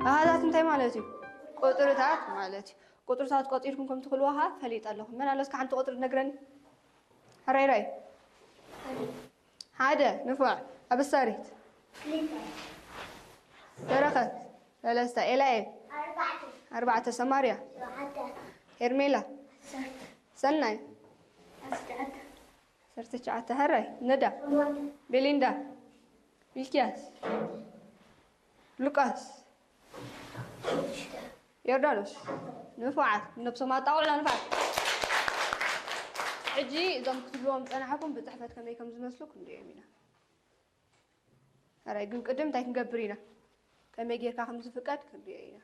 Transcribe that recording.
ኣሃዛት እንታይ ማለት እዩ? ቁፅርታት ማለት እዩ። ቁፅርታት ቆፂርኩም ከም ትኽእልዎ ኸዓ ፈሊጠ ኣለኹ። መን ኣሎ እስከ ሓንቲ ቁፅሪ ትነግረኒ? ሕራይ ራይ። ሓደ። ንፉዕ። ኣበሳሪት። በረኸት። ሰለስተ። ኤላኤል። ኣርባዕተ። ሰማርያ። ሄርሜላ። ሰናይ። ዓሰርተ ትሽዓተ። ሕራይ። ነዳ። ቤሊንዳ። ሚልኪያስ። ሉቃስ። ዮርዳኖስ። ንፉዓት። ነብሶም ኣጣቕዑና ንፉዓት። ሕጂ እዞም ክትብልዎም ዝጸናሕኩም ብጽሕፈት ከመይ ከም ዝመስሉ ክንሪኦም ኢና። ሕራይ። ግን ቅድም እንታይ ክንገብር ኢና? ከመይ ጌርካ ከም ዝፍቀድ ክንሪኦ ኢና።